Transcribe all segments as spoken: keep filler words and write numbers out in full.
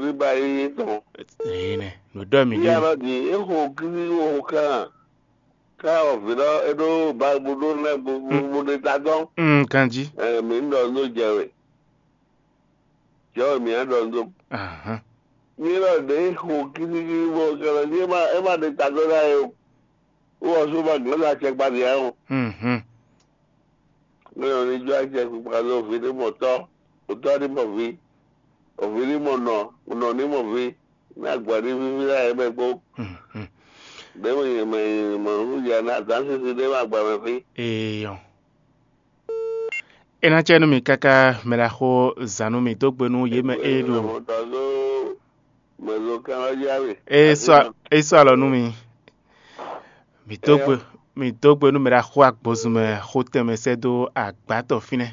Ní ba yíyí tɔn. Èyí nɛ, nǔ ɖɔ mì Bí ɖe. Alɔ din, é xo kíxí xo kan. Ká ɔvǐ lɔ é ɖó ba bó ɖó lɛ́ bó bó ɖe ta dɔn. Mm, ganjí. Ɛ, mǐ ɖɔ nú jɛ we. Jɛ we mǐ á ɖɔ nú. Ahán. Ní lɔ ɖě xo kíxíxí bó kɛlɛ ní é má é má ɖe ta dɔn ná é o. Wó wɔ sú ma glɔ́ ná acɛkpa ɖě ǎ o. Mhm. Mɛ ɔ́ ní jó acɛ kpikpa ɖó vǐ ní mɔ tɔ́, otɔ́ ní mɔ vǐ, oví ní mɔ nɔ, nɔ ní mɔ vǐ, ní agba ní víví ná yě mɛ kpó. Mhm. Ɖě mɛ yě mɛ yě mɔ nú ya ní azǎn sisi ɖé mɛ agba mɛ fí. Eyɔn. É ná cɛ nú mì káká mɛ ɖaxó zǎn nú mì dó gbe nú yě mɛ é ɖo. Mɛ ɖo kán ɔ́ yá mì. É sɔ́ é sɔ́ alɔ nú mi. Mǐ dó gbe mǐ dó gbe nú mɛ ɖaxó agbozun mɛ xó tɛnmɛ sɛ́ dó agbátɔ fínɛ́.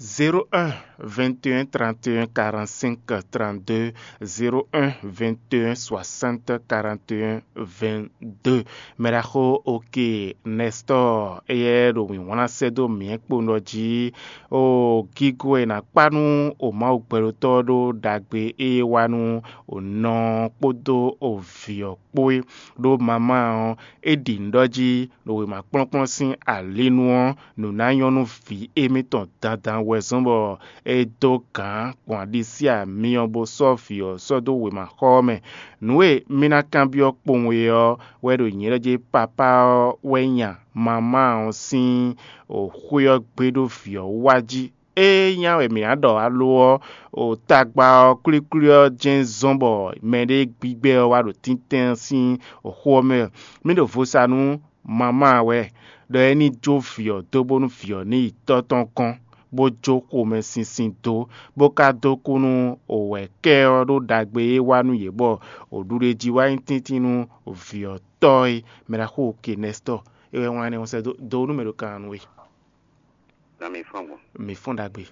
Zéro un, vingt et un, trente et un, quarante-cinq, trente-deux, zéro un, vingt et un, soixante, quarante et un, vingt-deux. Mɛ ɖaxó Oke Nɛstɔ́ɔ, éyɛ́ ɖo mǐ wlán sɛ́ dó mǐ kpowun ɖɔ jí, o gígó e è nǎ kpá nú o Mawu gbɛɖótɔ́ ɔ́ ɖó ɖagbe e é wa nú o nɔ ɔ́ kpódó o vǐ ɔ́ kpó é. Ɖó mamá ɔ́, é ɖi nǔ ɖɔ jí ɖo wěma kplɔ́nkplɔ́n sín alinu ɔ́, nǔ ná nyɔ́ nú vǐ émítɔn dandan wɛ zɔ́n bɔ é dó gǎn gbɔn aɖisí amyɔ bó sɔ́ vǐ ɔ́ sɔ́ dó wěmaxɔ ɔ́ mɛ. Nǔ e mì ná kanbyɔ́ kpowun é ɔ́ wɛ ɖo nyǐ lɛ́ɛ jí papá ɔ́ wɛ nya mamá ɔ́ sín xwé ɔ́ gbé ɖó vǐ ɔ́ wá jí. Ée nya wɛ mǐ ná ɖɔ alo ɔ́, o tagba ɔ́ kwlíkwlí ɔ́ jɛ́n zɔ́n bɔ mɛɖé gbígbɛ́ ɔ́ wá ɖo tíntín ɔ́ sín xó ɔ́ mɛ. Mí ɖo vo sa nú mamá wɛ ɖɔ é ní jó vǐ ɔ́ dó bónú vǐ ɔ́ ní yi tɔ́ tɔn gɔ́n, bó jó xomɛsinsin dó, bó ka dó kú nú wɛ̌kɛ́ ɔ́ ɖó ɖagbe e é wa nú yě bɔ wǒɖuɖéjí wá nyí tíntín nú vǐ ɔ́ tɔ́ é. Mɛ ɖaxó Kenɛstɔ́ é wɛ wlán énɛ́ ɔ́ sɛ́ dó dó nú mɛ ɖo kan nú we. Na mi fɔ́n gbɔn. Mi fɔ́n ɖagbe.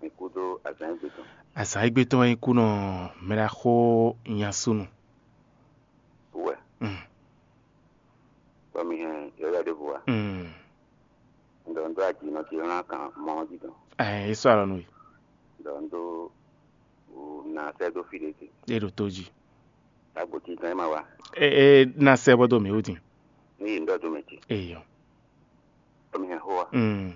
Mi kú dó azǎn égbé tɔn. Azǎn égbé tɔn wɛ nyí kú nɔ mɛ ɖaxó nyasúnu. Wɛ. Mm. Bɔ mi hɛn yɔyɔ ɖěvo wa. Mm. Un ɖɔ un dó ajinɔ ce hlan kan mɔ ɔ́ jí tɔn. Ɛɛ, é sɔ́ alɔ nú we. Un ɖɔ un dó na sɛ́ dó fí ɖé ce. É ɖo tó jí. Agbo ce tɔn é ma wa. É é ná sɛ́ bɔ dó mǐ wú din. Ní yi un ɖɔ dó mɛ ce. Eyɔ. Bɔ mi hɛn xó wa. Mm.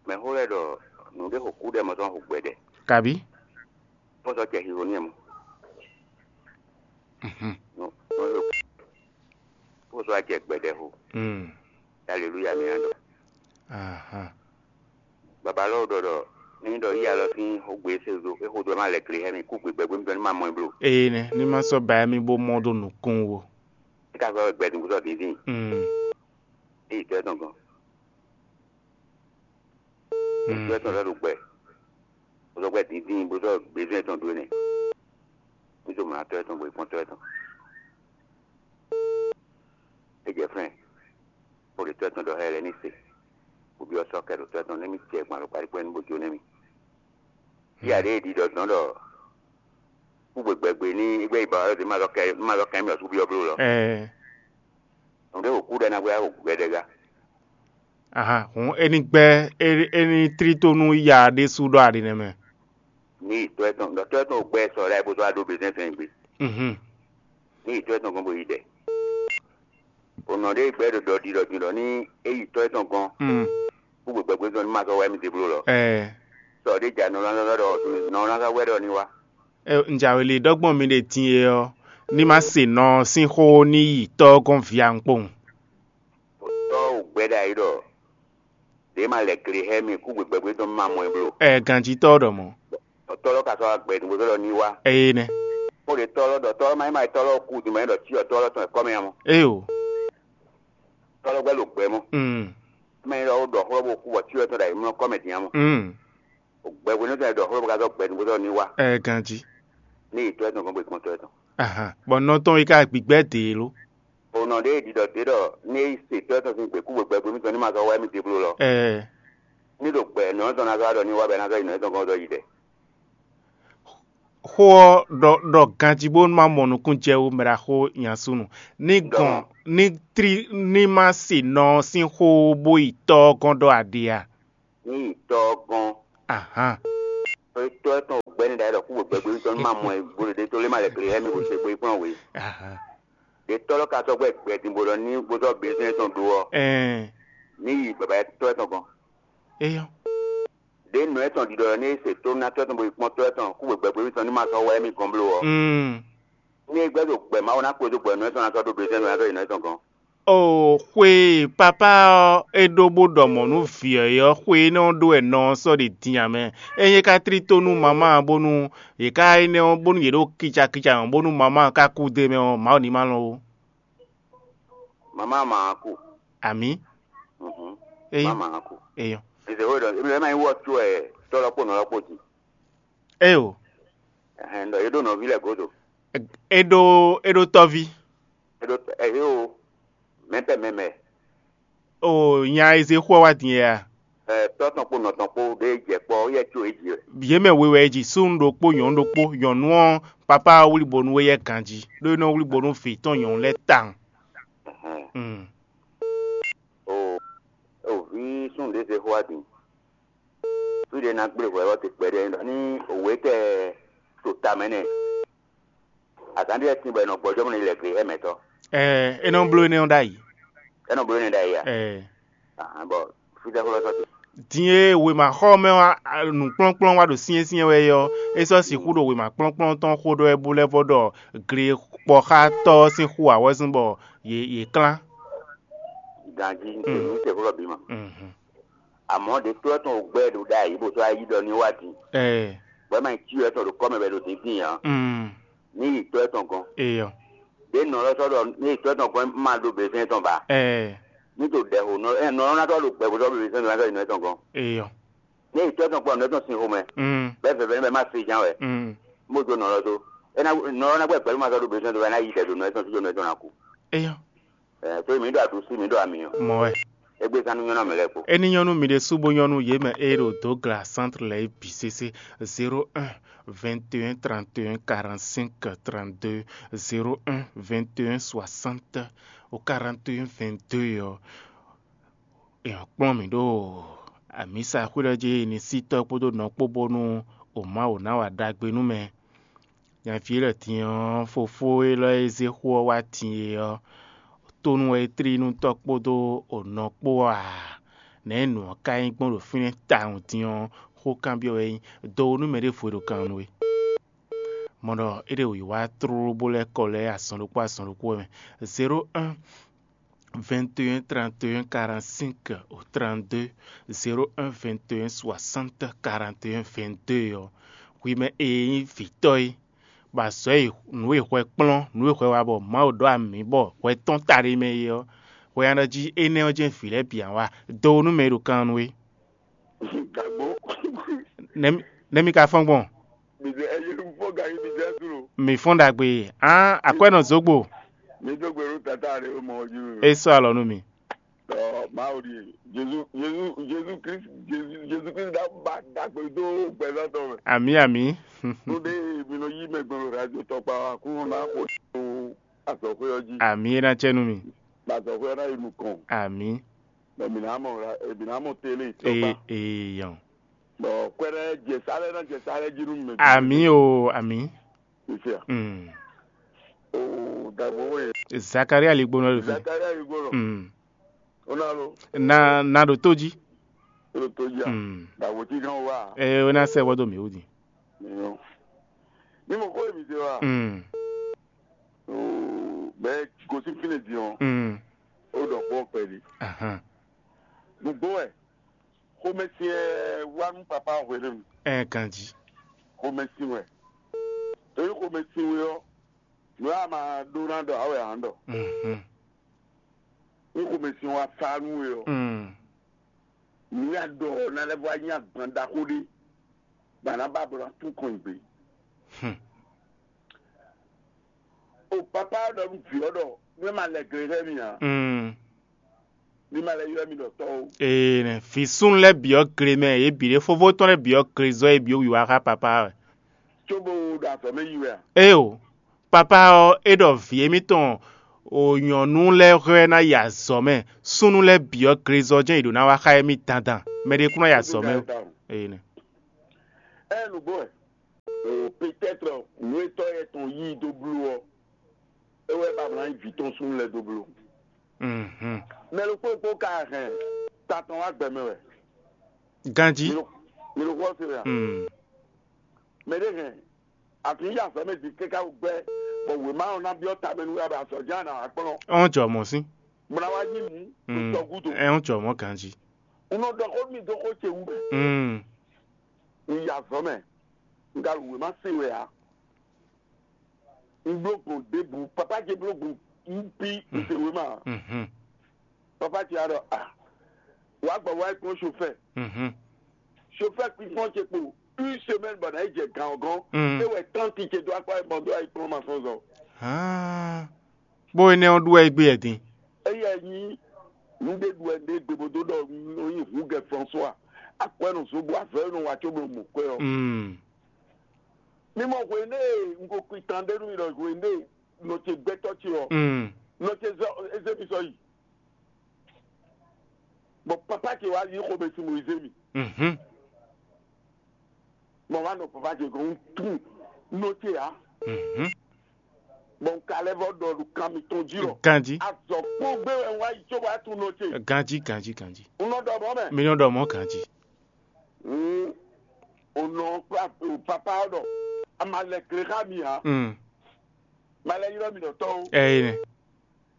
Mɛ xó lɛ́ɛ ɖɔ nǔɖé xo kú ɖɛ mɔ tɔn xo gbɛɖɛ. Kabi? Bó sɔ́ jɛ xixo n'i mɔ. Mhm. Nɔ nɔ bó sɔ́ jɛ gbɛɖɛ xo. Mm. Aleluya mi á ɖɔ. Ahan. Baba lɔ ɖɔ ɖɔ ní ɖɔ yí alɔ sín xógbe se do é xó do ma lɛ kle hɛ mi kú gbe gbɛgbɛ mi tɔn ní ma mɔ ɛ blo. Eye nɛ ní ma sɔ́ ba mi bó mɔ ɖó nukún wo. É ka sɔ́ gbɛ dùn kú sɔ́ dín dín. Mm. Éyi tɔ ɛ tɔn gɔn. Tɔ ɛ tɔn lɛ ɖo gbɛ. Bó sɔ́ gbɛ dín dín bó sɔ́ gbezún ɛ tɔn dó nɛ. Ní tó mlá tɔ ɛ tɔn bó yi kpɔ́n tɔ ɛ tɔn. É jɛ fɛ́n. Bó ɖe tɔ ɛ tɔn ɖɔ xá ɛ lɛ́ɛ ní se. Bó byɔ́ sɔ́ kɛ ɖo tɔ ɛ tɔn nɛ́ mì jɛ gbɔn alɔkpa ɖé kpɛ́n bó jó nɛ́ mì. Fí aɖé e ɖiɖɔ dɔn ɖɔ kúgbe gbɛgbe ní gbɛ yi ba ɔ́ ɖe má lɔ kɛ má lɔ kɛ mì ɔsú byɔ́ bló lɔ. Ɛɛ. Nǔɖé wǒ kú ɖɛ ná gbé wá wǒ gbɛɖɛ gá. Aha, hǔn é ní gbɛ́ é é ní tlí tó nú ya ɖésú ɖɔ aɖi nɛ́ mɛ. Ní yi tɔ ɛ tɔn ɖɔ tɔ ɛ tɔn wǒ gbɛ sɔ ɖa é bó sɔ́ wá ɖó bezɛ́n sɛn gbe. Mhm. Ní yi tɔ ɛ tɔn gɔ́n bó yi ɖɛ. O nɔ ɖé gbɛ ɖo ɖɔ ɖi ɖɔ din ɖɔ ní é yi tɔ ɛ tɔn gɔ́n. Mm. Kúgbe gbɛgbɛ tɔn ní ma sɔ́ wá émí déblo lɔ. Ɛɛ. Sɔ ɖé ja nɔ lásán ɖɔ nɔ lásán wɛ ɖɔ ní wá. Ɛ, un jǎwe li ɖɔ gbɔn mi ɖe din e ɔ́, ní ma se nɔ ɔ́ sín xó ní yi tɔ́ ɔ́ gɔ́n vǐ a un kpowun. Tɔ́ wǒ gbɛ ɖ'ayǐ ɖɔ ɖě ma lɛ gle xá mì kú gbe gbɛgbɛ tɔn ma mɔ ɛ bló. Ɛ, ganjitɔ́ ɖɔ mɔ̌. Tɔ́ lɔ ka sɔ́ wá gbɛ nǔgbó tɔ́ lɔ ní wá. Eye nɛ. Xó ɖě tɔ́ lɔ ɖɔ tɔ́ lɔ ma nyí ma tɔ́ lɔ kú din ma nyí ɖɔ cyɔ tɔ́ lɔ tɔn kɔ́ mɛ ǎ mɔ. Eye o. Tɔ́ lɔ gbɛ ɖo gbɛ mɔ. Mm. Ma nyí ɖɔ wó ɖɔ xó lɔ bó kú bɔ cyɔ tɔn ɖo ayǐ mlɔ́ kɔ́ mɛ din ǎ mɔ. Mm. Gbɛhwenu tɔn e ɖɔ xlɔ́ bó ka zɔ́ gbɛ nǔgbó tɔn ní wá. Ɛ ganjí. Ní yi tɔ́ ɛ tɔn gbɔn bó yi kpɔ́n tɔ́ ɛ tɔn. Ahan. Bɔ nɔ tɔn yi ka gbigbɛ dě lo. O nɔ ɖé ɖiɖɔ dě ɖɔ ní yi se tɔ́ ɛ tɔn sín gběkúgbè gbɛgbó mítɔn ní ma zɔ́ wá émí déblo lɔ. Ɛ. Ní ɖo gbɛ nɔ tɔn ná zɔ́ wá ɖɔ ní wá bɛ ná zɔ́ yi nɔ tɔn gɔ́n zɔ́ yi ɖɛ. Xó ɔ́ ɖɔ ɖɔ ganjí bó má mɔ nukún jɛ wú mɛ ɖaxó nyasúnu. Ní gɔn ní tlí ní má se nɔ sín xó bó yi tɔ́ ɔ́ gɔ́n ɖɔ aɖe a? Ní yi tɔ́ ɔ́ gɔ́n. Ahan. Tɔ́ ɛ tɔn gbɛ́ ní ɖa kú wǒ gbɛgbé tɔn ní ma mɔ ɛ gbóɖé ɖé tó lé ma lɛ gle hɛ́ mi bó se gbé kplɔ́n wě. Aha. Ɖě tɔ́ lɔ ka sɔ́ gbɛ gbɛ din bó ɖɔ ní bó sɔ́ bezɛ́n tɔn ɖó ɔ́, Ɛn. Ní yi baba tɔ́ ɛ tɔn gɔ́n. Eyɔ́. Ɖě nɔ ɛ tɔn ɖiɖɔ ɔ́, ní é se tó ná tɔ́ ɛ tɔn bó yi kpɔ́n tɔ́ ɛ tɔn kú wǒ gbɛgbé tɔn ní ma sɔ́ wá ɛ mi gɔ́n bló ɔ́, Mm. ní é gbɛ́ ɖo gbɛ Mawu ná kpé dó gbɛ nɔ ɛ tɔn ná sɔ́ ɖó bezɛ́n nɔ ná sɔ́ yi nɔ ɛ tɔn gɔ́n. O xwe e papá ɔ́ é ɖó bó ɖɔ mɔ̌ nú vǐ ɔ́ é ɔ́, xwe énɛ́ ɔ́ ɖó wɛ nɔ ɔ́ sɔ́ ɖe din ǎ mɛ. Ényí é ka tlí tó nú mamá ɔ́ bónú yě ká énɛ́ ɔ́ bónú yě ɖo kicakica mɛ bónú mamá ɔ́ ka kú d'é mɛ ɔ́, Mawu ní ma lɔn ó. Mamá ma ku. Amǐ. Mhm. Eyi. Mamá ma ku. Eyɔ. Eze wo ɖɔ ebe ma yi wɔ tso ɛ tɔ lɔ kpo nɔ lɔ kpo ji. Eyo. Ɛhɛn, ɖɔ ye ɖo nɔvi lɛ godo. E ɖo e ɖo tɔvi. E ɖo ɛ o mɛpɛ mɛmɛ. O nya eze xɔ wa din ya. Ɛ tɔ tɔn kpo nɔ tɔn kpo ɖe jɛ kpɔ yɛ tso e ji. Yě mɛ we wɛ e ji súnnu ɖokpó nyɔ̌nu ɖokpó, nyɔ̌nu ɔ́ papá ɔ́ wlí bo nú we yɛ ganjí ɖó é nɔ wlí bo nú vǐ tɔn nyɔ̌nu lɛ́ɛ tawun. Ɛhɛn. Mm. O o vi súnnu ɖé se xɔ wa din. Fí ɖé ná gblé hwɛ ɔ́ te kpɛɖé ɖɔ ní òwe tɛ to ta mɛ nɛ. Azǎn ɖé sin bɔ è nɔ gbɔjɔ́ mɔ ní lɛ gbe ɛmɛtɔ́. Ɛɛ é nɔ bló énɛ́ ɔ́ ɖ'ayǐ. É nɔ bló énɛ́ ɖ'ayǐ a? Ɛɛ Ahan bɔ fítɛ́ xó lɔ sɔ́ te. Din e wěmaxɔmɛ ɔ́ nǔkplɔ́nkplɔ́n wá ɖo syɛ́nsyɛ́n wɛ é ɔ́, é sɔ́ sixú ɖo wěma kplɔ́nkplɔ́n tɔn xó ɖɔ wɛ bó lɛ́ vɔ ɖɔ gle kpɔxátɔ́ ɔ́ sín xú awɔ́zún bɔ yě yě klán. Ganjí ní te xó lɔ bǐ mɔ. Mhm. Àmọ́ ɖě tó ɛ tɔn ò gbɛ́ ɖo ɖ'ayǐ bó sɔ́ ayí ɖɔ ní wá din. Ɛɛ Bɔ é ma nyí cyɔ ɛ tɔn ɖo kɔ́ mɛ bɔ è ɖo dǐndín ǎ. Mm. Ní yi tó ɛ tɔn gɔ́n. Eyɔ. Ɖě nɔ lɔ sɔ́ ɖɔ ní yi tó ɛ tɔn gɔ́n ma ɖo běsɛn tɔn ba. Ɛɛ Ní to ɖɛ ho nɔ ɛ nɔ ná tɔ́ ɖo gbɛ bó sɔ́ běsɛn tɔn ná sɔ́ yi nɔ ɛ tɔn gɔ́n. Eyɔ. Ní yi tó ɛ tɔn kpɔ nɔ ɛ tɔn sin xomɛ. Mm. Bɛ́ vɛvɛ ní bɛ má se ján wɛ. Mm. Mo jo nɔ lɔ tó. É ná nɔ lɔ ná gbɛ gbɛ ló ma sɔ́ ɖo běsɛn tɔn bɛ ná yi ɖɛ ɖo nɔ ɛ tɔn sí nɔ ɛ tɔn ná kú. Eyɔ. Ɛ tó mi ɖo aɖu sí mi ɖo ami ɔ. Mɔ wɛ. Égbé zán nú nyɔ́nɔ mɛ lɛ́ɛ kpo. Ényí nyɔ́ nú mi ɖésú bó nyɔ́ nú yě mɛ e ɖo Dogla centre lɛ́ɛ é bǐ sésé. Zéro un, vingt et un, trente et un, quarante-cinq, trente-deux, zéro un, vingt et un, soixante, au quarante et un, vingt-deux ɔ́, è nɔ kplɔ́n mǐ ɖo amǐsa xwé lɛ́ɛ jí ní sí tɔ́ kpódó nɔ kpó bónú o Mawu ná wa ɖagbe nú mɛ. Nyaví élɔ́ din ɔ́, fofó élɔ́ e zé xó ɔ́ wá din é ɔ́, tónú wɛ é tlí nú tɔ́ kpódó nɔ kpó a? Nɛ̌ nǔ ɔ́ ka nyí gbɔn ɖo fínɛ́ tawun din ɔ́, xó kanbyɔ́ wɛ é nyí. Do nú mɛ ɖěvo e ɖo kan nú we. Mɔ ɖɔ é ɖe wǐwá tlóló bó lɛ́ kɔ lɛ́ azɔn ɖokpó azɔn ɖokpó wɛ mɛ. Zéro un, vingt et un, trente et un, quarante-cinq au trente-deux, zéro un, vingt et un, soixante, quarante et un, vingt-deux ɔ́, hwi mɛ e nyí vǐtɔ́ é, bɔ azɔ̌ e nǔ e hwɛ kplɔ́n, nǔ e hwɛ wa bɔ Mawu ɖɔ amǐ bɔ hwɛ tɔ́n ta ɖé mɛ é ɔ́, hwɛ nya ɖɔ jí énɛ́ ɔ́ jɛ́n vǐ lɛ́ɛ bǐ ǎ wa. Do nú mɛ e ɖo kan nú we. Gǎgbó. Nɛ̌ mi- nɛ̌ mi ka fɔ́n gbɔn? Mizɛ ɛyɛ fɔ gari mizɛ suro. Mi fɔ́n ɖagbe. Án akwɛ́nɔ zǒgbo. Mi do gbe ɖo tata ɖe o mɔ ju. É sɔ́ alɔ nú mi. Ɔ Mawu ɖi Jesu Jesu Jesu Kristu Jesu Jesu Kristu da ba dagbe do gbɛzɔn tɔn mɛ. Àmì àmì. Tó ɖe mi nɔ yí mɛ gbɔn ɖo radio tɔkpa wa kó na xo tó azɔxwé ɔ́ jí. Àmì é ná cɛ nú mi. Azɔxwé ɔ́ ná yi nukɔn. Àmì. Mɛ mi ná mɔ ra mi ná mɔ télé tɔkpa. Ee ee yɔn. Bɔn kwɛɖɛ jɛ sálẹ ná jɛ sálẹ jí nú mɛ. Àmì o àmì. Ìfẹ́. Mm. O dàgbò wẹ̀. Zakaria ligbónɔ ló fi. Zakaria ligbónɔ. Mm. Ó ná ló. Na na ɖo tó jí. Ó ló tó jí a. Mm. Dàgbò tí kan wà. Ẹ ó ná sẹ́ wọ́dọ̀ mi ó di. Ní mo kó èmi ṣe wa. Mm. Bẹ́ẹ̀ kò sí fílẹ̀ di wọn. Mm. Ó dọ̀ pọ̀ pẹ̀lú. Ahan. Gbogbo ẹ̀. Xomɛsin ɛ wá nú papá hwenu. Ɛ ganji. Xomɛsin wɛ. Torí xomɛsin wɛ ɔ́, nǔ a ma ɖó ná ɖɔ awɛ à ń ɖɔ. Mhm. Ní xomɛsin wa sa nú we ɔ́, Mm. nǔ ya ɖɔ ɔ́ ná lɛ́ vɔ wá nyí agban ɖaxó ɖé, bɔ a nǎ ba bɔ ná tún kɔn ìgbé. Hmm. O papá ɖɔ nú vǐ ɔ́ ɖɔ nú ɛ ma lɛ gle xɛ mi ǎ. Mm. Mi ma lɛ ylɔ́ mi ɖɔ tɔ́ ó. Ee nɛ, vǐ súnnu lɛ́ɛ bǐ ɔ́ gle mɛ, yě bǐ ɖě fófó tɔn lɛ́ɛ bǐ ɔ́ gle zɔ yě bǐ ɔ́ wǐwá xá papá wɛ. Cóbó ɖo azɔ̌ mɛ yi wɛ a? Éyo, papá ɔ́, é ɖɔ vǐ émítɔn o nyɔ̌nu lɛ́ɛ hwɛ ná yi azɔ̌ mɛ, súnnu lɛ́ɛ bǐ ɔ́ gle zɔ jɛ́n yě ɖó ná wá xá émí dandan, mɛ ɖé kún ná yi azɔ̌ mɛ ó. Ee nɛ. Ɛ nǔgbó wɛ. Peut-être nǔ e tɔ́ yɛ tɔn yí i dó bló ɔ́, é wɛ ba mlá nyí vǐ tɔn súnnu lɛ́ɛ dó bló. Mɛ ɖokpó ɖokpó ka hɛn ta tɔn wá gbɛ mɛ wɛ. Ganjí. Mi ɖo xó ɔ́ se wɛ a? Mɛ ɖé hɛn afi yi azɔ̌ mɛ din káká wú gbɛ́, bɔ wěma ɔ́ ná byɔ́ tamɛ nú we abɛ azɔ̌ jɛ́n a nǎ wá kplɔ́n. Ɔ́n jɔ mɔ̌ sín. Bó ná wá yí mǔ ɖo tɔ gúdo. Ɛ ɔ́n jɔ mɔ̌ ganjí. Un nɔ ɖɔ xó nú mi dó xó ce wú mɛ. Un yi azɔ̌ mɛ, un ka ɖo wěma se wɛ ǎ. Un bló gbɔn ɖěbǔ, papá ce bló gbɔn, un bí un se wěma ǎ. Papá ce wá ɖɔ a, wǎ gbɔ wá yi kplɔ́n chofɛ́. Chofɛ́ kpínkpɔ́n ce kpo une semaine bɔ nǎ yi jɛ gǎn ɔ́ gɔ́n. É wɛ tánti ce dó akpá bɔ dó ayi kplɔ́n masɔnzɔ. Bó énɛ́ ɔ́ ɖu wɛ é gbé wɛ din. Éyɛ́ nyí nǔɖé ɖu wɛ ɖé gbe bó dó ɖɔ nɔ nyi hǔngɛ François akwɛ́ nɔ zó bɔ avɛ́ nɔ wá có bó mɔ kwɛ́ ɔ́. Mi mɔ hwenu e un ko kpi tan ɖé nú mi ɖɔ hwenu e nɔ ce gbɛtɔ́ ce ɔ́, nɔ ce zɔ eze mi sɔ yi. Bɔ papa ce wá yí xomɛ sin Moyize mi. Bɔ wá nɔ papa ce gɔ́n un tunwun nɔ ce ǎ. Bɔ un ka lɛ́ vɔ ɖɔ ɖo kan mitɔn jí lɔ. Ganjí. Azɔ kpó gbé wɛ un wá yi cóbɔ á tunwun nɔ ce. Ganjí, ganjí, ganjí. Un nɔ ɖɔ mɔ̌ mɛ. Mi nɔ ɖɔ mɔ̌ ganjí. Un nɔ papa ɔ́ ɖɔ a ma lɛ gle xá mi ǎ. Ma lɛ ylɔ́ mi ɖɔ tɔ́ ó. Ɛyí nɛ.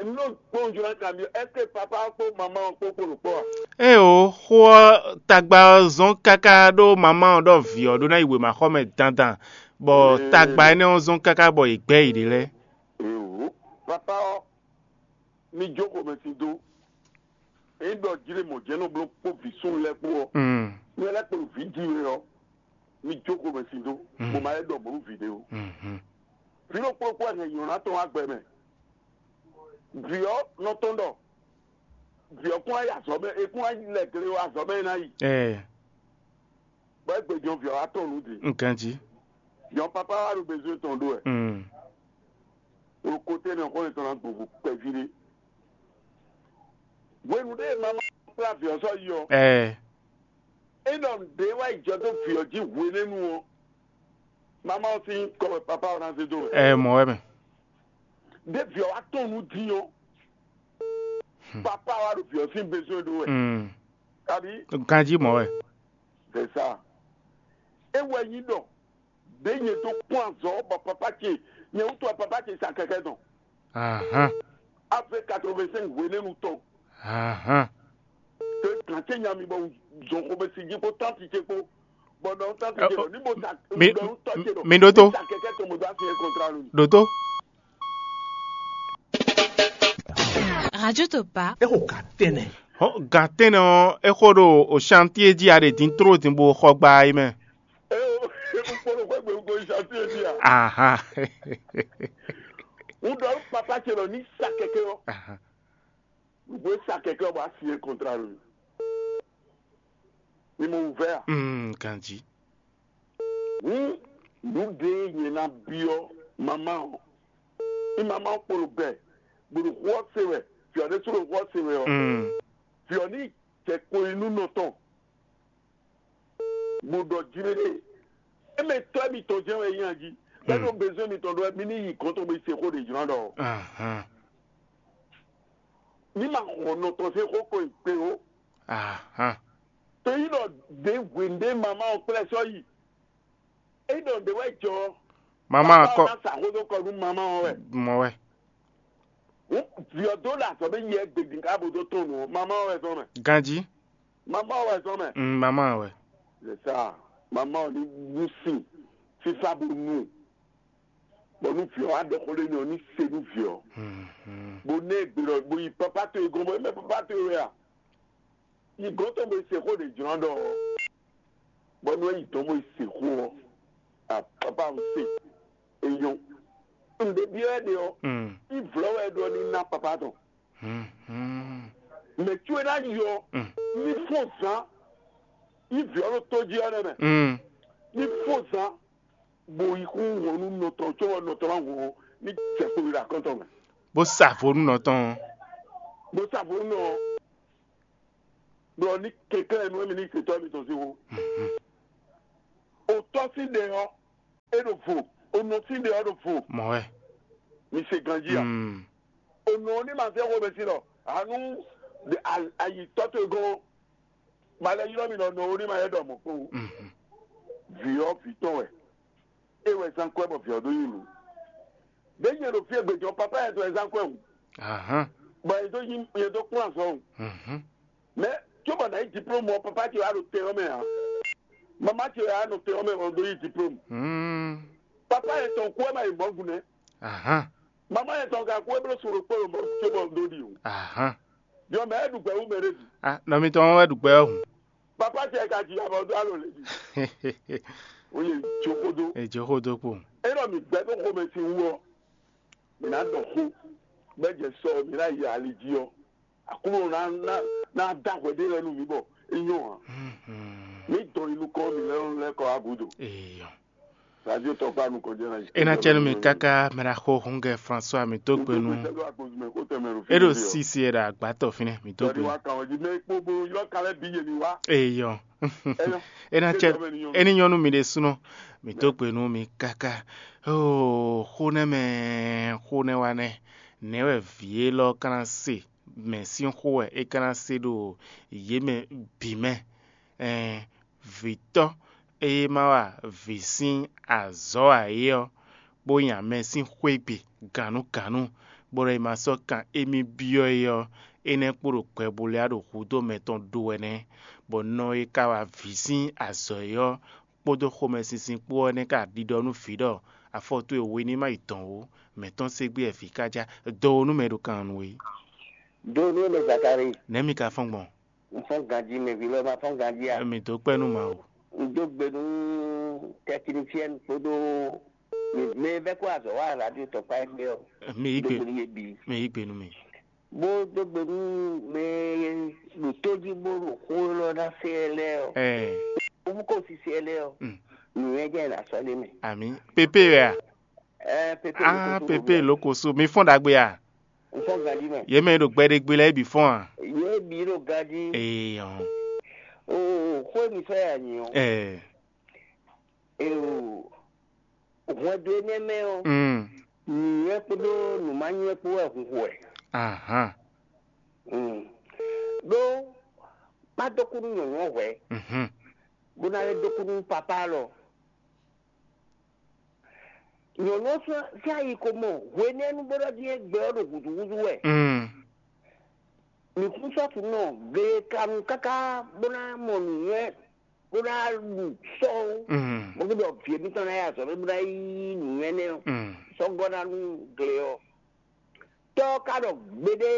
Nú kpɔ́n jló ná kanbyɔ́, est-ce que papa kpó maman kpó kpó ɖo kpɔ́ a? Ée o, xó ɔ́ tagba ɔ́ zɔ́n káká ɖó mamá ɔ́ ɖɔ vǐ ɔ́ ɖó ná yi wěmaxɔmɛ dandan, bɔ tagba énɛ́ ɔ́ zɔ́n káká bɔ yě gbɛ́ yěɖée lɛ́ɛ. Ewo, papa ɔ́, mi jó xomɛ sin dó. Ényí ɖɔ jlé mɔ̌ jɛ́n nɔ bló kpó vǐ súnnu lɛ́ɛ kpó ɔ́, Mm. mi lɛ́ kpo vǐ ji we ɔ́, mi jó xomɛ sin dó, Mm. bó ma lɛ́ ɖɔ mɔ̌ nú vǐ ɖé ó. Mhm. Vǐ ɖokpó kpó wɛ hɛn nyɔ̌ná tɔn wá gbɛ mɛ. Vǐ ɔ́ nɔ tɔn ɖɔ vǐ ɔ́ kún wá yi azɔ̌ mɛ, é kún wá lɛ gle azɔ̌ mɛ é ná yi. Ɛɛ, Bɔ é gbe jɔn vǐ ɔ́ wá tɔn nǔ din. Un ganjí. Jɔn papa wá ɖo bezwé tɔn ɖó wɛ. Mm. Ɖo kote nɛ xó yětɔn ná gbɔn vo kpɛví ɖé. Hwenu ɖé e mama kplá vǐ ɔ́ sɔ́ yi ɔ́, Ɛɛ, é ɖɔ nǔɖé wá yi jɔ dó vǐ ɔ́ jí hwenɛ́nu ɔ́, mama ɔ́ sín kɔ wɛ papa ɔ́ ná zé dó wɛ. Ɛɛ, mɔ̌ wɛ mɛ. Ɖé vǐ ɔ́ wá tɔn nǔ din ɔ́, Hmm. papa wá ɖo vǐ ɔ́ sín bezwé ɖó wɛ. Mm. Kabi Ganjí mɔ̌ wɛ. C'est ça. É wɛ nyí ɖɔ ɖě nyɛ dó kpɔ́n azɔ̌ bɔ papa ce nyɛ wútu wɛ papa ce sa kɛkɛ dɔn. Ahan. Ave quatre-vingt-cinq hwenɛ́nu tɔn. Ahan. Ke gǎn ce nya mi bɔ zɔn xomɛ si jí kpó tánti ce kpó. Bɔ nɔ tánti ce Ɛ, nɔ ní bó sa mi- nɔ nú tɔ́ ce nɔ. Mi ɖótó. Sa kɛkɛ tɔn mo dó asi ɛ kɔntra lu. Ɖótó. Radio Topa. É xo gǎn tɛnɛ. Hɔn gǎn tɛnɛ ɔ́, é xo ɖo o chantier jí a ɖe dín tró dín bó xɔ gba yi mɛ. É o, é kpókpó ɖo xwé gbé kó chantier jí a. Ahan. Un ɖɔ nú papa ce lɔ ní sa kɛkɛ ɔ́. Ahan. Nǔgbó e sa kɛkɛ ɔ́ bɔ asi ɛ kɔntra lu. Mi mɔ wǔvɛ́ a? Mm, ganjí. Hǔn nǔ ɖé e nyɛ ná byɔ́ mamá ɔ́, ní mamá ɔ́ kpo ɖo gbɛ, bó ɖo xó ɔ́ se wɛ, vǐ ɔ́ ɖésú ɖo xó ɔ́ se wɛ ɔ́, Mm. vǐ ɔ́ ní jɛ kpo yi nú nɔ tɔn, bó ɖɔ jí mɛ ɖé, émɛ tɔ́ mitɔn jɛ́n wɛ nyí a jí, bɛ́ ɖo bezɔ́ mitɔn ɖɔ wɛ, mi ní yi gɔ̌n tɔn bó yi se xó ɖě jlɔ́ ɖɔ. Ahan. Ní ma xɔ nɔ tɔn sín xó ko yi kpe ó. Ahan. To yí ɖɔ ɖě hwěndé mamá ɔ́ kplɛ́ sɔ́ yi. É ɖɔ ɖě wɛ jɔ. Mama Papa kɔ ɔ́ ná sa xó dó kɔ nú mamá ɔ́ wɛ. Mɔ wɛ. Hǔn vǐ ɔ́ dó ɖo azɔ̌ mɛ yi ɛgbědín ká bó dó tɔn nǔ ɔ́, mamá ɔ́ wɛ zɔn mɛ. Ganjí. Mamá ɔ́ wɛ zɔn mɛ. Mm, mama wɛ. C'est ça. Mamá ɔ́ ní wú sin fífá bó nu. Bɔ nú vǐ ɔ́ wá ɖɔ xó ɖé n'i ɔ́, ní se nú vǐ ɔ́. Mhm. Bó ná ɛ gbe ɖɔ bó yi papa towe gɔ́n bɔ é mɛ papa towe wɛ a? Yi gɔ̌n tɔn bo yi se xó ɖě jlɔ́n ɖɔ bɔ nú é yi dɔ̌n bo yi se xó ɔ́, a papa un se. E nyɔ́. Un ɖe byɔ́ ɛ ɖe ɔ́, Mm. yi vlɔ́ wɛ é ɖɔ ní ná papa tɔn. Mhm. Mɛ có e ná yi ɔ́, Mm. ní fɔ́n zán. Yi vǐ ɔ́ ɖo tó jí ɔ́ nɛ́ mɛ. Mm. Ní fɔ́n zán. Bo yi kún wɔn nú nɔ tɔn, có bɔ nɔ tɔn ná wɔn ní jɛ kpo yi ɖo akɔ́ntɔn mɛ. Bó sa vo nú nɔ tɔn. Bó sa vo nú nɔ. Ɖɔ ní kɛnklɛ́n nú émí ní se tɔ́ mitɔn sín xó. Mhm. O tɔ́ sín ɖe ɔ́, É ɖo vo. Onɔ sín ɖe ɔ́ ɖo vo. Mɔ̌ wɛ. Mi se ganjí a? Mm. Onɔ ɔ́ ní ma zɛ xomɛ sín ɖɔ hanu ayitɔ towe gɔ́n. Ma lɛ ylɔ́ mi ɖɔ nɔ ɔ́ ní ma yɛ ɖɔ mɔ̌ kpowun. Mhm. Vǐ ɔ́ vǐ tɔn wɛ. É wɛ zán kwɛ́ bɔ vǐ ɔ́ ɖó nyi nǔ. Bě nyɛ ɖo fí e gbějɔ papa yɛ tɔn wɛ zán kwɛ́ hǔn. Ahán. Bɔ yɛ dó yí yɛ dó kplɔ́n azɔn hǔn. Mhm. Mɛ cóbɔ nǎ yí diplôme ɔ́, papa ce wá ɖo tɛn ɔ́ mɛ ǎ. Mama ce wá nɔ tɛn ɔ́ mɛ bɔ ɖó yí diplôme. Mm. Papa yɛ tɔn kú ɛ ma yi mɔ̌ gúnɛ́. Ahán. Mama yɛ tɔn ka kú ɛ bló soro kpó ɖo mɔ̌ cóbɔ ɖó ɖi o. Ahán. Jɔ mɛ ɛ ɖu gbɛ wú mɛ ɖé bǐ. Ah, nɔ mitɔn wɛ ɖu gbɛ ɔ́ hǔn. Papa ce ka ji abɔ dó alo lě bǐ. Ó lè jó xódó. È jó xódó kpo. É ɖɔ mi gbɛ tó xomɛ sin wú ɔ́, mi ná ɖɔ xó bɛ́ jɛ sɔ mi ná yi ali jí ɔ́. Aklúnɔ ná ná ná dá hwɛ ɖé lɛ́ɛ nú mǐ bɔ é nyɔ́ ǎ. Mhm. Mǐ dɔn yi nukɔn mǐ lɛ́ɛ lɛ́ɛ kɔ wá gǔdo. Eyɔ. Radio tɔkpa nukɔn jɛ na yi. E na cɛ nu mi kaka mɛ ɖaxó hungɛ François mi dó gbe nu. E ɖo sisi e ɖo agbátɔ fínɛ mi dó gbe. Eyɔ. E na cɛ e ni nyɔnu mi ɖe sunɔ mi dó gbe nu mi kaka. Oh, xó nɛ mɛ xó nɛ wa nɛ. Nɛ wɛ vǐ élɔ́ ka ná se mɛ sín xó wɛ é ka ná se ɖo yě mɛ bǐ mɛ. Ɛn, vǐtɔ́ e ma wa vǐ sín azɔ̌ ǎ é ɔ́, bó nya mɛ sín xwé gbe gǎnnugǎnnu, bó ɖɔ è ma sɔ́ kan émí byɔ́ é ɔ́, énɛ́ kpo ɖo gbɛbulɛ́ ɖo hudó mɛtɔn ɖó wɛ nɛ́, bɔ nɔ e ka wa vǐ sín azɔ̌ é ɔ́ kpódó xomɛsinsin kpó ɔ́ nɛ́ ka ɖiɖɔ nú vǐ ɖɔ afɔ towe we ní ma yi dɔn ó, mɛ̌ tɔn ségbé wɛ vǐ ká já dó ó nú mɛ ɖo kan nu é. Dó nú mɛ Zakari. Nɛ̌ mi ka fɔ́n gbɔn? Un fɔ́n ganjí, mɛ vǐ lɔ ma fɔ́n ganjí a? Mi dó kpɛ́ nú Mawu. Un dó gbe nú tɛkinisiyɛn kpódó mɛ e vɛ́ kó azɔ̌ wa radio tɔkpá égbé ɔ́. Mi yí gbe, dó gbe nú yě bǐ. Mi yí gbe nú mi. Bó dó gbe nú mɛ e ɖo tó jí bó ɖo xó élɔ́ ná se ɛ lɛ́ɛ ɔ́. Ɛɛ. Ó mú kó sise ɛ lɛ́ɛ ɔ́. Mm. Nǔnywɛ́ jẹ́ ná sɔ́ ɖé mɛ. Àmì. Pépé wɛ a? Ɛɛ, pépé. Ah, lóko só pépé lóko só. Mi fɔ́n ɖagbe a? Un fɔ́n ganjí mɛ. Yě mɛ e ɖo gbɛɖegbe lɛ́ɛ bǐ fɔ́n a? Yě bǐ ɖo ganjí. Ee ɔn. Oo, xó e mi sɔ́ ya nyi ɔ́. Ɛɛ. Ee o. Hwɛndo énɛ́ mɛ ɔ́, mm, nǔnywɛ́ kpódó nǔmánywɛ́ kpó wɛ hun xo wɛ. Ahan. Mm. Ɖó má dó kú nú nyɔ̌nu ɔ́ hwɛ̌, mhm, bó ná lɛ́ dó kú nú papá lɔ. Nyɔ̌nu ɔ́ sín ayi ko mɔ hwenɛ́nu bó ɖɔ dín é gbɛ ɔ́ ɖo hǔzúhúzú wɛ. Mm. Mǐ kún sɔ́ tunɔ gleklanu káká bó ná mɔ nǔnywɛ́ bó ná ɖu sɔ́ ó. Mm. Bó kún ɖɔ vǐ émítɔn ná yi azɔ̌ mɛ bó ná yí nǔnywɛ́ nɛ́ ɔ́, mm, sɔ́ gɔ́ ná nú gle ɔ́. Tɔ́ ɔ́ ka ɖɔ gbeɖé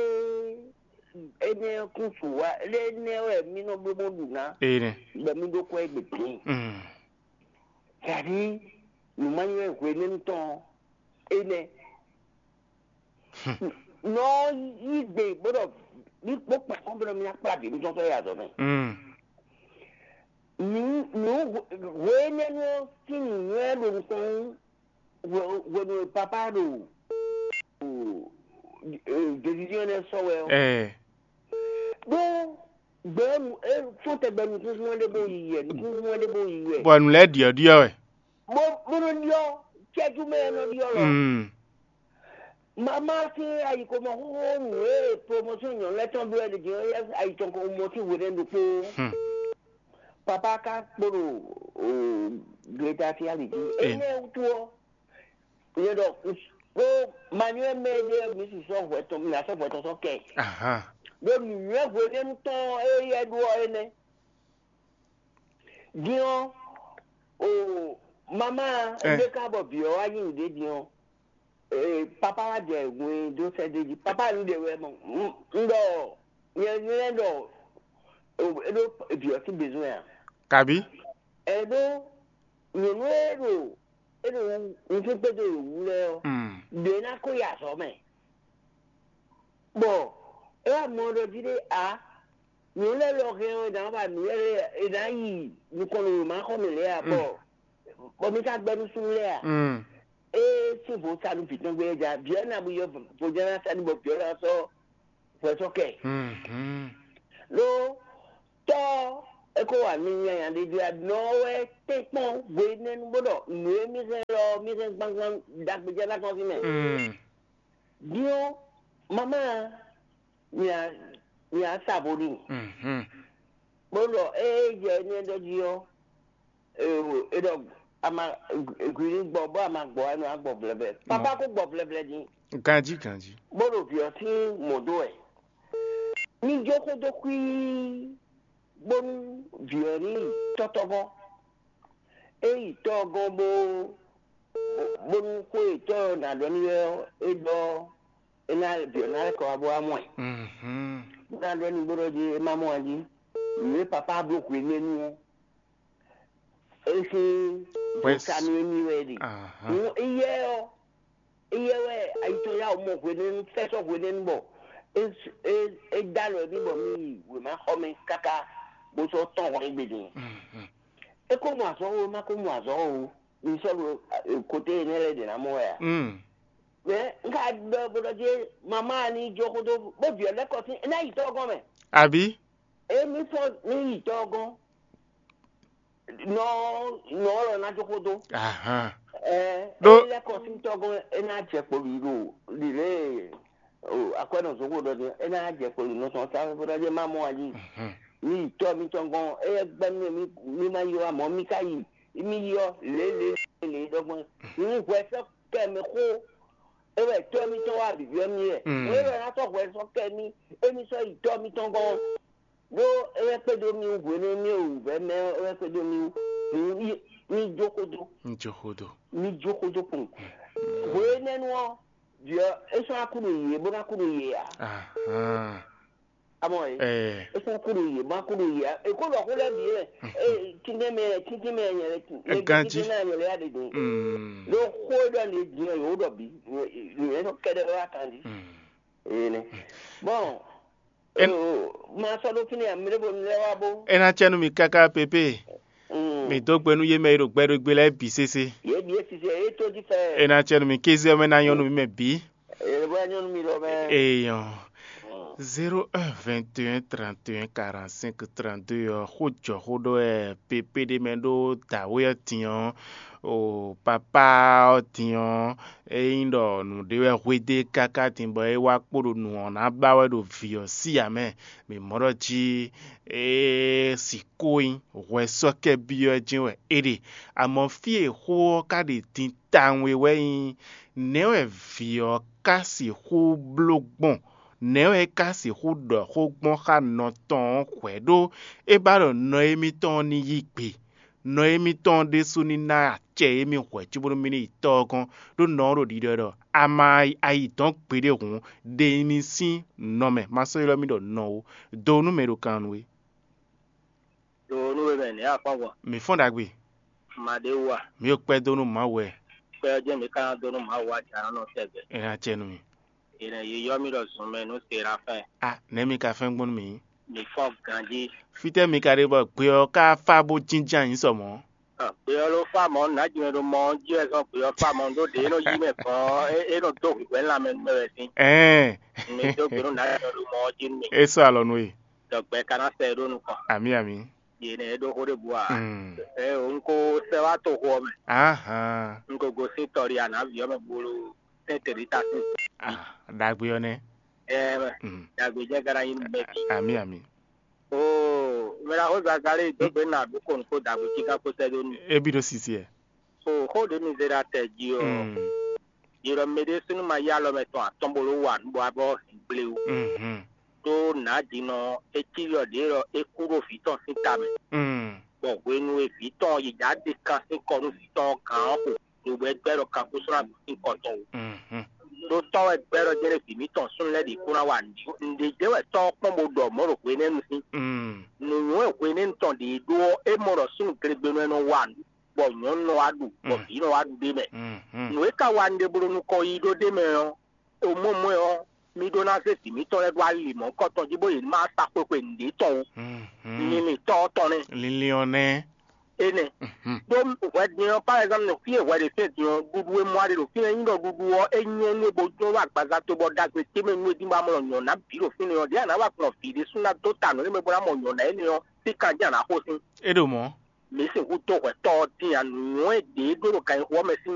énɛ́ kún su wá, énɛ́ wɛ mí nɔ bló bó ɖu ná, ene, bɔ mí ɖó kwɛ́ égbé din. Mm. Dǎɖí nǔmánywɛ́ hwenɛ́nu tɔn ɔ́, énɛ́. Nɔ yí gbe bó ɖɔ mí kpó kpɛ̌ kɔn bó ɖɔ mí ná kplá vǐ mítɔn sɔ́ yi azɔ̌ mɛ. Mm. Nǔ nǔ hwe énɛ́ nú ɔ́ sín nǔnywɛ́ ɖo nukɔn wú hwe- hwenu e papá ɖo décision énɛ́ sɔ́ wɛ ɔ́. Ɛɛ. Ɖó gbɛ̌nu é fɔ́n tɛgbɛ nukúnxún wɛ ɖé bó yi wɛ, nukúnxún wɛ ɖé bó yi wɛ. Bɔ nǔ lɛ́ɛ ɖiɔ́ɖiɔ́ wɛ. Bó bó nɔ ɖiɔ́ cɛ́jú mɛ nɔ ɖiɔ́ lɔ. Mm. Mama sín ayǐkomɔ xóxó nǔ e promotion nyɔ̌nu lɛ́ɛ tɔn bló wɛ ɖě din ɔ́, ayǐ tɔn ko mɔ sín hwenɛ́nu ɖokpó. Hmm. Papa ka kpo ɖo gleta fí ali jí. Énɛ́ wútu ɔ́, nyɛ ɖɔ kó manyɔ́ mɛ ɖé mi si sɔ́ hwɛ tɔn mi ná sɔ́ hwɛ tɔn sɔ́ kɛ. Ahan. Ɖó nǔnywɛ́ hwenɛ́nu tɔn e yɛ ɖó ɔ́ énɛ́. Din ɔ́, o mama, eh, ɖé ká bɔ vǐ ɔ́ wá nyi nǔɖé din ɔ́, ee, papa wá jɛ hwɛndo sɛ́ d'é jí. Papa nu ɖe wɛ mɔ. Un ɖɔ nyɛ nyɛ ɖɔ é ɖó vǐ ɔ́ sín besoin a? Kabi? Ɛ ɖó nyɔ̌nu e ɖo e ɖo nukún kpédó yě wú lɛ́ɛ ɔ́, mm, ɖě ná kó yi azɔ̌ mɛ. Bɔ é wá mɔ ɖɔ jí ɖé ǎ, nǔ lɛ́ɛ lɔ hɛn ɔ́, è nǎ ba nǔ lɛ́ɛ è nǎ yi nukɔn nú wěma xɔ mɛ lɛ́ɛ ǎ, bɔ bɔ mi ka gbɛ́ nú súnnu lɛ́ɛ ǎ. Mm. Ée sín vo sa nú vǐ tɔn gbé é ja, vǐ ɔ́ ná bu yɔ vo jɛ́n ná sa ní bɔ vǐ ɔ́ ná sɔ́ hwɛ sɔ́ kɛ. Mhm. Ɖó tɔ́ ɔ́, é ko wa mi nyanya ɖé jí ǎ, nɔ ɔ́ wɛ tɛ́nkpɔ́n hwenɛ́nu bó ɖɔ nǔ e mì hɛn mi hɛn gbangban ɖagbe jɛ ná tɔn sín mɛ. Mm. Din ɔ́, mama, mi a mi a sa vo n'i. Mhm. Bó ɖɔ ée jɛ énɛ́ ɖɔ jí ɔ́, e ɖɔ ama gwi ní gbɔ bó ama gbɔ ɛnɔ agbɔ vlɛvlɛ. Papa kó gbɔ vlɛvlɛ din. Ganjí ganjí. Bó ɖo vǐ ɔ́ sín mɔ̌ dó wɛ. Mi jó xó dó xwíí, bónú vǐ ɔ́ ní yi tɔ́tɔ́ gɔ́n. É yi tɔ́ ɔ́ gɔ́n bó bónú xó e tɔ́ ɔ́ ná ɖɔ n'i wɛ ɔ́, é ɖɔ é ná vǐ ɔ́ ná lɛ́ kɔ wá bó wá mɔ ɛ. Mhm. Bó ná ɖɔ n'i bó ɖɔ jí é má mɔ ɛ jí. Nǔ e papá bló hwenɛ́nu ɔ́, é sín Wes- dǒta nú émí wɛ é ɖe. Aha. Nú éyɛ́ ɔ́, éyɛ́ wɛ ayi tɔn yá wǔ mɔ hwenɛ́nu fɛ́sɔ́ hwenɛ́nu bɔ é é é dó alɔ émí bɔ mí yi wěma xɔ mɛ káká bó sɔ́ tɔ́n hɔn égbé din. Mhm. É ko mɔ azɔ̌ ó, é má ko mɔ azɔ̌ ó, mi sɔ́ ɖo kote énɛ́ lɛ́ɛ ɖě ná mɔ wɛ a? Mm. Mɛ un ka ɖɔ bó ɖɔ jí mamá ní jó xódó bó vǐ ɔ́ lɛ́ kɔ sín é ná yi tɔ́ gɔ́n mɛ. Àbí? Émí sɔ́ ní yi tɔ́ gɔ́n. Nɔ nɔ lɔ ná jó xódó. Ahan. Ɛ Ɖó- é lɛ́ kɔ sín tɔ́ gɔ́n é ná jɛ kpo ɖiɖo ɖiɖe akwɛ́nɔ zokpo ɖɔ din é ná jɛ kpo ɖiɖo nɔ tɔn sáré bó ná jɛ má mɔ ayi. Mhm. Mi yi tɔ́ mitɔn gɔ́n é gbɛ́ mì mí má yi wá mɔ̌ mí ka yi mí yi ɔ́ lě lě lě ɖɔgbɔn. Ní hwɛ sɔ́ kɛ mɛ xó é wɛ tɔ́ mitɔn wá bǐbí ɔ́ mì wɛ. Mm. Mɔ̌ é wɛ ná sɔ́ hwɛ sɔ́ kɛ mì émí sɔ́ yi tɔ́ mitɔn gɔ́n. Ɖó é wɛ kpédó mì wú hwenu e mì wǔvɛ́ mɛ ɔ́, é wɛ kpédó mì wú. Mì jó xódó. Mì jó xódó. Mì jó xódó kpɔn. Hwenɛ́nu ɔ́, vǐ ɔ́, é sɔ́ ná kú ɖo yě bó ná kú ɖo yě ǎ. Ahán. Amɔ é. Ɛɛ. É sɔ́ ná kú ɖo yě bó ná kú ɖo yě ǎ. Èkó ɖɔ xó lɛ́ɛ bǐ lɛ. Ee, tíntín mɛ tíntín mɛ nyɛ lɛ tún. Ganjí. Tíntín mɛ nyɛ lɛ yá ɖe dun. Mm. Ɖó xó e ɖɔ nǔ e din ɔ́, yǒ ɖɔ bǐ. Nǔ e nɔ kɛɖɛ wɛ wá kan jí. Mm. Ene. Bon, En- eh, ma sɔ́ ɖó fínɛ́ ǎ, mi ɖé bo mi lɛ́ wá bó. E ná cɛ nú mi káká pépé. Mm. Mi dó gbe nú yé mɛ e ɖo gbɛɖógbé lɛ́ɛ bǐ sésé. Yě bǐ e sise yě tó jí fɛ. E ná cɛ nú mi kéze ɔ́ mɛ ná nyɔ́ nú mi mɛ bǐ. Yě bó nyɔ́ nú mi lɔ mɛ. Eyɔn. Mm. Zéro un vingt et un trente et un quarante-cinq trente-deux ɔ́, xó jɔ xó ɖɔ wɛ pépé ɖé mɛ ɖó dǎwe ɔ́ din ɔ́, o papá ɔ́ din ɔ́, é nyí ɖɔ nǔɖé wɛ hwedó e káká din bɔ é wá kpo ɖo nǔ ɔ́ ná ba wɛ ɖo vǐ ɔ́ sí ǎ mɛ. Mǐ mɔ ɖɔ jí é sixú nyí hwɛsɔ́kɛ́ byɔ́ ɛ jɛ́n wɛ é ɖe. Amɔ̌ fí e xó ɔ́ ka ɖe din tawun é wɛ nyí, nɛ̌ wɛ vǐ ɔ́ ka sixú bló gbɔn? Nɛ̌ wɛ é ka sixú ɖɔ xó gbɔn xá nɔ tɔn ɔ́ hwɛ̌ ɖó é ba ɖɔ nɔ émítɔn ɔ́ ní yí gbe? Nɔ émítɔn ɔ́ ɖésú ní ná acɛ émí hwɛ̌ cóbónú mì ní yi Tɔ́ ɔ́ gɔ́n, ɖó nɔ ɔ́ ɖo ɖiɖɔ ɛ ɖɔ: A ma ayi dɔ̌n gbeɖé hǔn, ɖe nyi mi sín nɔ mɛ, ma sɔ́ ylɔ́ mì ɖɔ nɔ ó. Do nú mɛ e ɖo kan nú we. Ɖo nú we mɛ nɛ̌ a fɔ́n gbɔn? Mǐ fɔ́n ɖagbe. Ma ɖé wú a? Mǐ ɖo kpɛ́ dó nú Mawu wɛ. Kpɛ́ ɔ́ jɛ́n mǐ ka ná dó nú Mawu wá jǎ nɔ tɛgbɛ. É ná acɛ nú mi. È nɔ yi yɔ mì ɖɔ zun mɛ nú Serafɛ́n. A nɛ̌ mi ka fɛ́n gbɔn nú mǐ? Mǐ fɔ́n ganjí. Fítɛ́ mi ka ɖe bɔ gbe ɔ́ ka fá bó jínjɔ́n ayǐ sɔ mɔ̌? Gbe ɔ́ ló fá mɔ̌, nǎjínwɛ́ ɖo mɔ ɔ́ jí wɛ zɔ́n gbe ɔ́ fá mɔ̌, ɖó ɖě e nɔ yí mɛ gbɔn ɔ́, é nɔ dó hwǐhwɛ́ lanmɛ nú mɛ wɛ sín. Ɛɛn. Mi dó gbe nú nǎjínwɛ́ ɖo mɔ ɔ́ jí nú mì. É sɔ́ alɔ nú we. Dɔ̌gbɛ́ ka ná sɛ ɛ ɖó nukɔn. Amǐ amǐ. Yě nɛ́ é ɖó xó ɖěbǔ ǎ. Mm. Ɛ o, un ko sɛ wá toxo ɔ́ mɛ. Ahan. Un ko gosín tɔɖi anǎví ɔ́ mɛ bólo sɛ́n tɛ̌ɖíta sín. Ah, ɖagbe ɔ́ nɛ́. Ɛ mɛ. Mm. Dagbe jɛ gara yin mɛ bi. Ami ami. Oo, mɛ la xó zagalé dó gbe na ɖó ko nukó dagbe cí ká kó sɛ ɖó nu. Ebi ɖo sisi ɛ. Oo, xó ɖé mi zé ɖa tɛ jí ɔ. Mm. Yě ɖɔ mɛ ɖé súnú ma yá alɔ mɛ tɔn atɔn bó ló wa nǔ bɔ abɔ hɛn gblé wú. Mhm. Ɖó nǎ ɖi nɔ é cí ɖɔ ɖě ɖɔ é kú ɖó vǐ tɔn sín ta mɛ. Mm. Bɔ hwenu e vǐ tɔn yi ɖǎ ɖe kan sín kɔ nú vǐ tɔn ɔ́ gǎn ɔ́ xo ɖo wɛ gbɛ́ ɖɔ kanxúsúná bǐ sín kɔ tɔn wú. Mhm. Ɖó tɔ́ wɛ gbɛ́ ɖɔ jɛ́n ɖé vǐ mǐtɔn súnnu lɛ́ɛ ɖě kún ná wa nǔ. Nǔɖé jɛ́n wɛ tɔ́ ɔ́ kpɔ́n bó ɖɔ mɔ̌ ɖo hwenɛ́nu sín. Mm. Nǔnywɛ́ hwenɛ́nu tɔn ɖě ɖó ɔ́, é mɔ ɖɔ súnnu glegbenu wɛ nɔ wa nǔ, bɔ nyɔ̌nu nɔ wá ɖu, bɔ Mm. vǐ nɔ wá ɖu ɖ'é mɛ. Mhm. Nǔ e ka wa nǔɖé bló nukɔn yi ɖó ɖ'é mɛ ɔ́, omɔmɔɛ ɔ́, mi ɖó ná zé vǐ mǐtɔn lɛ́ɛ ɖó ali mɔ̌hunkɔtɔn jí bó yě ní ma sa xwexwe nǔɖé tɔn ó. Mhm. Linlin tɔ́ ɔ́ tɔn nɛ́. Linlin ɔ́ nɛ́. Énɛ́. Mhm. Ɖó hwɛ din ɔ́, par exemple, fí e hwɛ ɖe fɛ́n din ɔ́, ɖuɖu e mɔ a ɖe ɖo fínɛ́ nyí ɖɔ ɖuɖu ɔ́, é nyɔ́ nú we bó jló wá agbaza towe bɔ ɖagbe ce mɛ nú we dín bó ná mɔ nyɔ̌ná bǐ ɖo fínɛ́ ɔ́, ɖěe a nǎ wa gbɔn vǐ ɖésú ná dó ta nǔ énɛ́ mɛ bó ná mɔ nyɔ̌ná énɛ́ ɔ́, sín kan jɛ́n a nǎ xo sín. É ɖo mɔ̌. Mǐ sixú dó hwɛ tɔ́ ɔ́ dín ǎ, nǔnywɛ́ ɖě e ɖó ɖo ganxixo ɔ́ mɛ sín